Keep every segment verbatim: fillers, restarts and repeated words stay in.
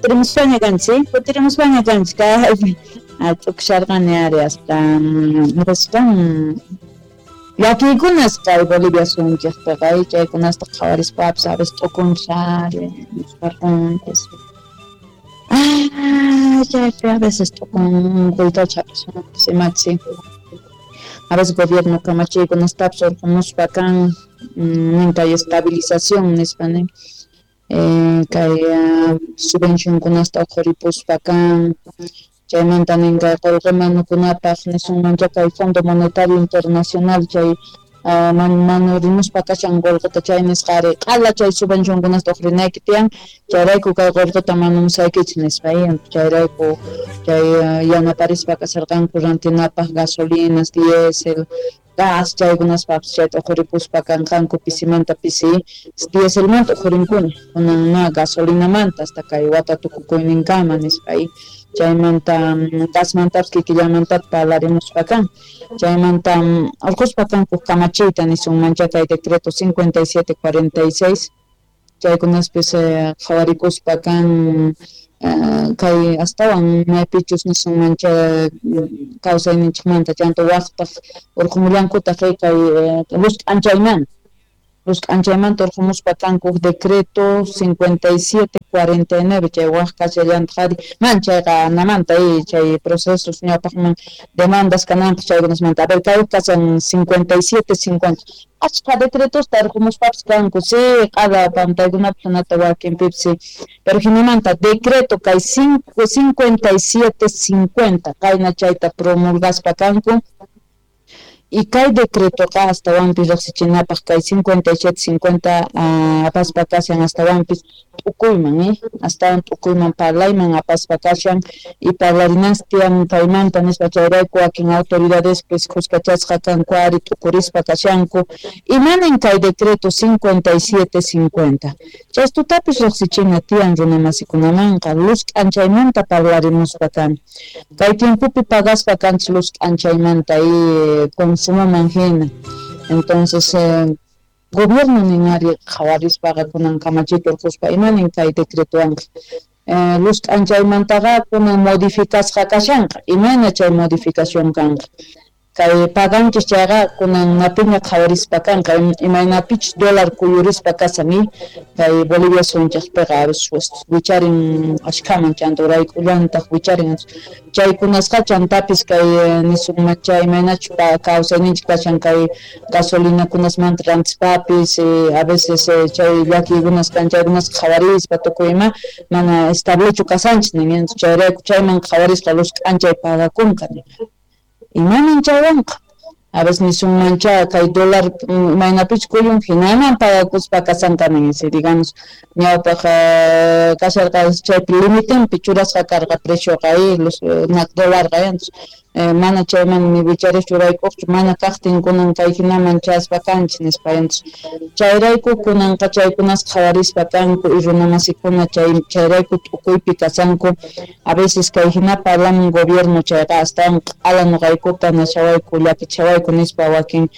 Kutirimuspaña kanchik, kutirimuspaña kanchik kaypi t'ukusharqani ari hasta nispan llakiykunas kay Bolivia suyunchikpiqa chaykunasta qhawarispapis a veces t'ukunchis ari nisparqunchis. Ah, chaypi a veces t'ukunkuytacha hap'isunpis imachi a veces gobierno kamachiykunastapis urqumuspa kan nin kay estabilización nispa nin kay subvencionkunasta uqhuripuspa kan chaymanta nin kay qullqi manukunapaq nisunmancha kay Fondo Monetario Internacional chay manurimuspa kashan qullqita chay nisqa ari q'ala chay subvencionkunasta uqhurinayki tiyan chayrayku kay qullqita manumusaykichik nispa chayrayku chay yanaparispa kasharqanku rantinapaq gasolinas, diésel, gas chaykunaspapis chayta uqhuripuspa kanqanku pisimanta pisi dieselmanta uqhurinkuna kunan gasolinamanta hasta kay wata tukukuyninkama nispa chaymanta gasmantapis kikillamantapis parlarimuspa kan chaymanta urquspa kanku kamachiyta nisunmancha kay decreto cincuenta y siete cuarenta y seis chaykunaspis qhawarikuspa kan kay astawan maypichus nisunmancha kawsayninchikmanta chanta waqtaq urqumullankutaq kay luz k'anchaymanta luz k'anchaymanta urqumuspa kanku decreto cincuenta y siete cuarenta y nueve chay waq kashallantaq ari man chayqa anamanta chay procesos ñawpaqman demandas kananpaq chaykunasmanta a ver kay kashan cincuenta y siete cincuenta achka decretosta urqumuspapis kanku sí q'ala pantaykunapis hinata wakinpipis sí pero hinamanta decreto kay cincuenta y siete cincuenta kayna chayta promulgaspa kanku y kay decretoqa astawanpis riqsichinapaq kay cincuenta y siete cincuenta apaspa kashan astawanpis t'ukuyman eh astawan t'ukuyman parlayman apaspa kashan y parlarinas tiyan kaymanta nispa chayrayku wakin autoridadespis khuskachasqa kanku ari t'ukurispa kashanku imanin kay decreto cincuenta y siete cincuenta chaystutapis riqsichina tiyan runamasikunamanqa luz k'anchaymanta parlarimuspa kan kay tiempopi pagaspa kanchis luz k'anchaymanta y consumoman hina entonces eh, gobierno nin ari qhawarispaqa kunan kamachiyta urquspa imanin kay decretowanqa eh, luz k'anchaymantaqa kunan modificasqa kashanqa imayna chay modificación kanqa kay paganchis chayqa kunan napiña qhawarispa kanqa imaynapichus dólar kuyurispa kashan kay Bolivia suyunchikpiqa a veces wicharin ashkhaman chanta urayk'ullantaq wicharin chaykunasqa chantapis kay nisunmancha imaynachus kawsayninchik kashan kay gasolinakunasmanta rantispapis a veces chay llakiykunas kan chaykunas qhawarispa tukuy ima mana establechu kasanchis nin chayrayku chayman qhawarispa luz k'anchay pagakunqa nin imanin chaywanqa a veces nisunmancha kay dólar imaynapichus kuyun hinaman pagakuspa kasanqa nin si digamos ñawpaq kasharqa chaypi limitinpi churasqa karqa precioqa los dólarqa mana chayman ni wicharischu urayk'uqchu mana kaqtin kunan kay hinaman chaspa kanchis nispa chayrayku kunanqa chaykunas qhawarispa kanku y runamasikuna chay chayrayku t'ukuypi kasanku a veces kay hina parlamun gobierno chayqa astawan q'ala nuqaykuta nashawayku llakichawayku nispa wakin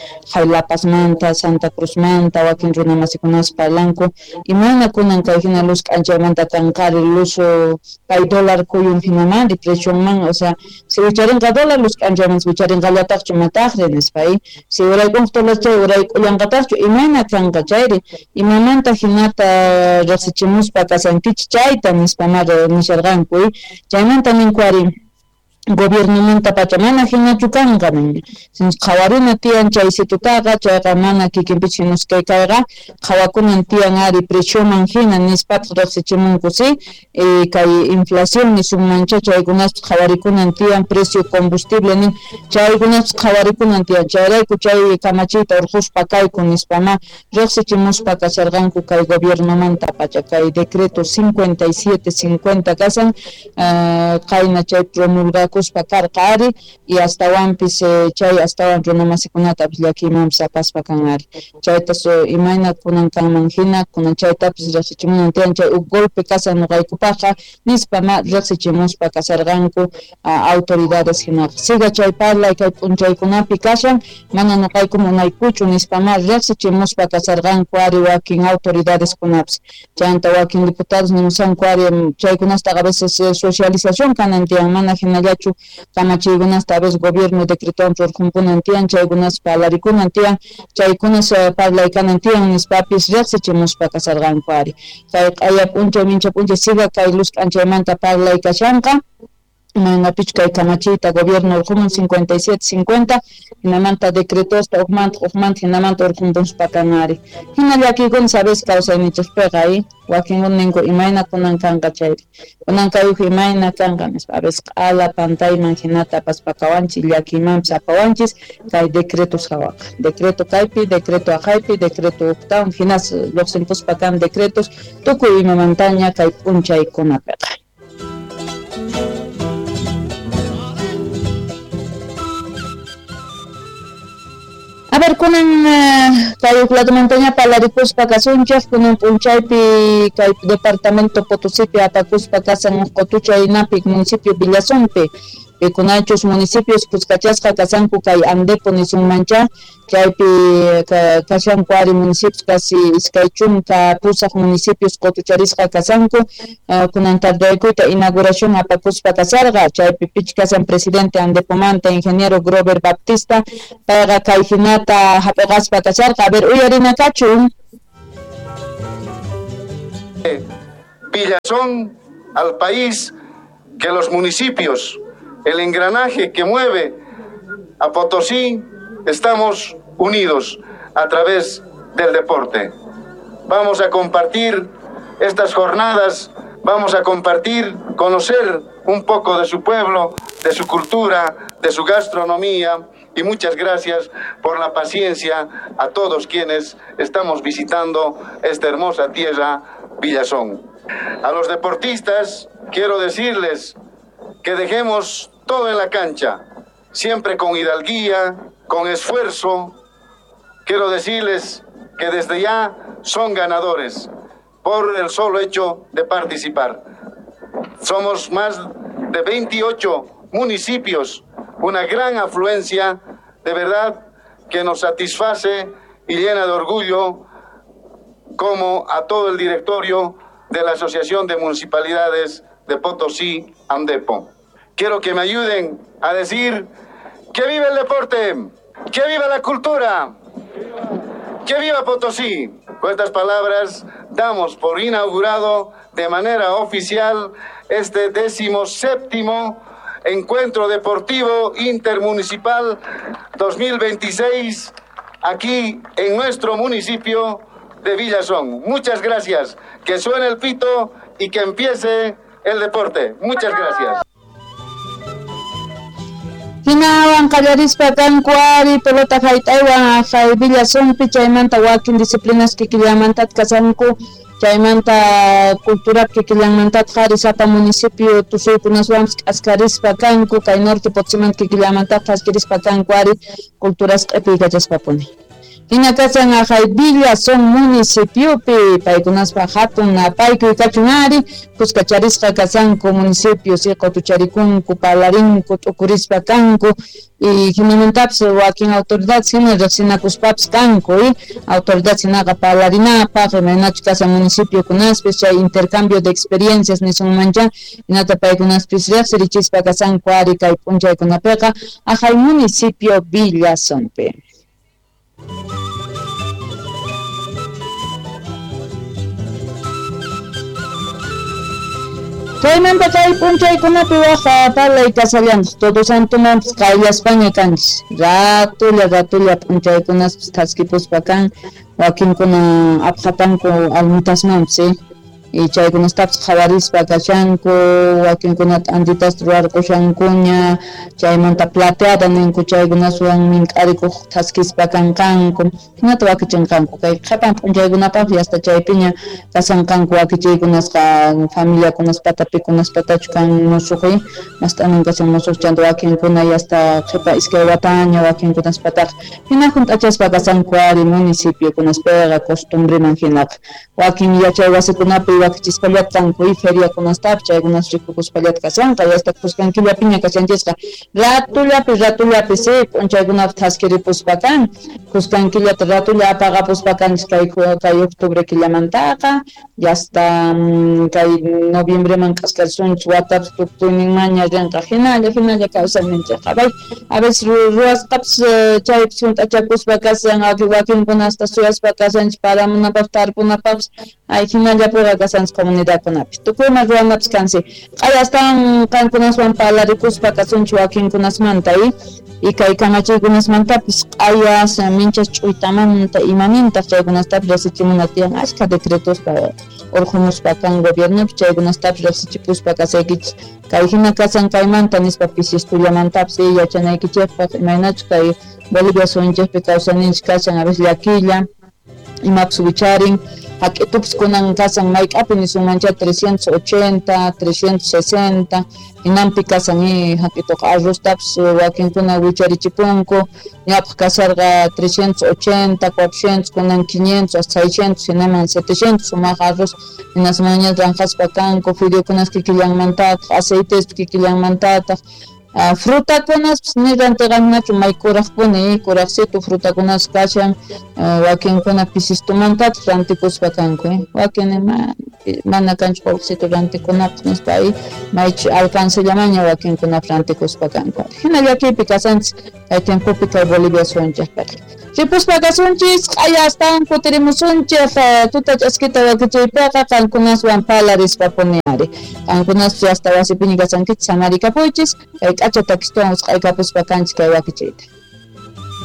La Pazmanta Santa Cruzmanta wakin runamasikunas parlanku imayna kunan kay hina luz k'anchaymanta kanqari luz kay dólar kuyun hinaman precionman o sea si wicharinqa dólar luz k'anchayman wicharinqallataqchu mataqri nispa si urayk'unqa dólar chay urayk'ullanqataqchu imayna kanqa chayri imamanta hinata riqsichimuspa kasankichik chayta nispa ma nisharqanku chaymanta ninku ari gobiernomanta pacha mana hinachu kanqa nin qhawarina tiyan chay situtaqa chayqa mana kikinpichik hinuskay kayqa qhawakunan tiyan ari precioman hina nispataq riqsichimunku si kay inflación nisunmancha chaykunaspis qhawarikunan tiyan precio combustible nin chaykunaspis qhawarikunan tiyan chayrayku chay kamachiyta urquspa kayku nispama riqsichimuspa kasharqanku kay gobiernomanta pacha kay decreto cincuenta y siete cincuenta kasan qayna chay promulgaku apakuspa karqa ari y astawanpis chay astawan runamasikunatapis llakiymanpis apaspa kan ari chayta imayna kunan kanman hina kunan chaytapis riqsichimunan tiyan chay huk golpe kashan nuqaykupaqqa nispa ma riqsichimuspa kasarqanku autoridades hinaqa siga chay parlay kay p'unchaykunapi kashan mana nuqayku munaykuchu nispa ma riqsichimuspa kasarqanku ari wakin autoridades kunapis chayanta wakin diputados nimusanku ari chaykunastaqa a veces socialización kanan tiyan mana hinallachu kamachiykunasta a veces gobierno decretowan rurqunkunan tiyan chaykunas parlarikunan tiyan chaykunas parlay kanan tiyan nispapis riqsichimuspa kasarqanku ari kay q'aya p'unchay mincha p'unchay siga kay luz k'anchaymanta parlay kashanqa imaynapich kay kamachiyta gobierno urqumun cincuenta y siete cincuenta hinamanta decretosta uqmanta uqmanta hinamanta urqunpuspa kan ari hina llakiykuna sabes kawsayninchikpiqa y wakinkuna ninku imayna kunan kanqa chayri kunan kay uj imayna kanqa nispa a veces q'ala pantayman hinata apaspa kawanchis llakiymanpis apawanchis kay decretos hawaqa decreto kaypi decreto aqhaypi decreto uqtawan hinas lluqsinpuspa kan decretos tukuy imamantaña kay p'unchaykunapiqa. A ver, kunan kay uqladumantaña parlarikuspa kasunchik kunan p'unchaypi kay departamento Potosipi apakuspa kasan uq qutuchay napi municipio Villazonpi pikunachus municipios kuskachasqa kasanku kay Andepo nisunmancha chaypi kashanku ari municipios casi iskay chunka pusaq municipios qutucharisqa kasanku kunan tardaykuyta inauguración apakuspa kasarqa chaypi pich kasan presidente Andepomanta ingeniero Grover Baptista payqa kay hinata hap'iqaspa kasarqa a ver uyarina kachun. Villazón al país que los municipios, el engranaje que mueve a Potosí, estamos unidos a través del deporte. Vamos a compartir estas jornadas, vamos a compartir, conocer un poco de su pueblo, de su cultura, de su gastronomía, y muchas gracias por la paciencia a todos quienes estamos visitando esta hermosa tierra, Villazón. A los deportistas quiero decirles que dejemos todo en la cancha, siempre con hidalguía, con esfuerzo. Quiero decirles que desde ya son ganadores por el solo hecho de participar. Somos más de veintiocho municipios, una gran afluencia, de verdad que nos satisface y llena de orgullo como a todo el directorio de la Asociación de Municipalidades de Potosí, Andepo. Quiero que me ayuden a decir que viva el deporte, que viva la cultura, que viva Potosí. Con estas palabras damos por inaugurado de manera oficial este décimo séptimo Encuentro Deportivo Intermunicipal dos mil veintiséis aquí en nuestro municipio de Villazón. Muchas gracias. Que suene el pito y que empiece el deporte. Muchas gracias. Hinawan qallarispa kanku ari pelota hayt'aywan aqhay Villazonpi chaymanta wakin disciplinas kikillanmantataq kasanku chaymanta cultura kikillanmantataq ari sapa municipio tusuykunaswanpis k'askarispa kanku kay norte Potosimanta kikillanmantataq thaskirispa kanku ari culturas q'ipiykachaspapuni. Hina kasan aqhay Villazón municipiopi paykunaspa hatun napaykuy kachun ari kuskacharisqa kasanku municipios y qutucharikunku parlarinku t'ukurispa kanku y hinamantapis wakin autoridades hina riqsinakuspapis kanku y autoridades hinaqa parlarinapaq imaynachus kasan municipiokunaspis chay intercambio de experiencias nisunmancha hinata paykunaspis riqsirichispa kasanku ari kay p'unchaykunapiqa aqhay municipio Villazonpi. Chaymanta kay p'unchaykunapi waj parlay kasallantaq Todo Santomanpis qayllaspaña kanchis ratulla ratulla p'unchaykunaspis thaskipuspa kan wakinkuna apqatanku almitasmanpis eh. Y chaykunastapis qhawarispa kashanku, wakinkunata antitas ruwarqushankuña, chaymanta plateada ninku chaykunaswan mink'arikuq thaskispa kanqanku, hinata wakichinqanku kay qhipan p'unchaykunapaq hasta chaypiña kasanqanku wakichiykunasqa familiakunaspata pikunaspatachu kan musuq mast'anan kashan musuq chanta wakinkuna hasta qhipa iskay wataña wakinkunaspataqa hina hunt'achaspa kasanku ari municipiokunaspiqa costumbreman hinaqa wakin yachay wasikunapi wakichispallata kanku y feriakunastapis chaykunas rikukuspallata kashanqa hasta khuskan killapiña kashanchisqa ratullapi ratullapi si p'unchaykunapi thaskiripuspa kan khuskan killata ratulla apaqapuspa kanchis kay kay octubre killamantaqa hasta kay noviembreman k'askarsunchis watapis tukuyninmanña rinqa hinalla hinalla kawsayninchikqa bay a veces ruwasqapis chaypis hunt'achakuspa kashan wakinkuna hasta suyaspa kashanchis paramunapaq tarpunapaqpis ay hinallapiqa kashanchis comunidadkunapi tukuyma ruwanapis kansi q'aya astawan qankunaswan parlarikuspa kasunchis wakinkunasmanta y y kay kamachiykunasmantapis q'ayas minchas ch'uytamanta imanintaq chaykunastapis riqsichimuna tiyan ashka decretospa urqumuspa kan gobiernopi chaykunastapis riqsichipuspa kasaykichis kay hina kasan kaymanta nispa pisistullamantapas yachanaykichikpaq imaynachus kay Bolivia suyunchikpi kawsayninchik kashan a veces llakilla imapis wicharin hak'itupis kunan kasan mayk'api nisunmancha trescientos ochenta, trescientos sesenta hinanpi kasan hak'ituqa arroztapis wakinkuna wicharichipunku ñawpaq kasarqa trescientos ochenta, cuatrocientos kunan quinientos hasta seiscientos hinaman setecientos sumaq arroz hinasmanña ranqaspa kanku fideokunas kikillanmantataq aceitespis kikillanmantataq Uh, frutakunaspis ni rantiqanachu may kuraqpuni kuraqsitu frutakunas kashan uh, wakinkuna pisistumantataq rantikuspa kanku eh? Wakin ma, mana kanchu qullqisitu rantikunapaq nispa ay maychu alcancellamaña wakinkunapaq rantikuspa kanku hina llakiypi kasanchis kay tiempopi kay Bolivia suyunchikpiqa ripuspa kasunchis q'aya astawan kutirimusunchik tuta ch'askita wakichiypiqa qankunaswan parlarispapuni ari qankunaspis hasta wasipiña kasankichis samarikapuychis kay k'acha takistuwan usq'aykapuspa kanchis kay wakichiyta.